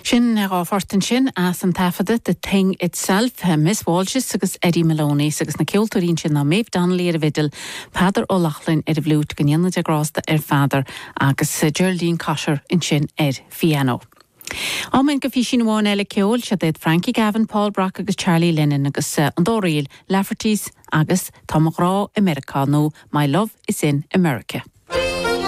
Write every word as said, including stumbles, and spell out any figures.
Sin dhá phort ansin as an taifeadadh The Thing Itself, Miss Walshes agus Eddie Maloney agus na ceoltóirí sin ná Maeve Donnelly ar an bhfidil, Peadar Ó Lochlainn ar an bhfliúit go ndéana Dia grásta ar Pheadar agus Geraldine Cotter ansin ar piano. Amen go físin amháin eile ceoil se iad Frankie Gavin, Paul Brock agus Charlie Lennon agus uh, an dá ríl Lafferty's agus Tá mo ghrá i Meiriceá nó My Love is in America.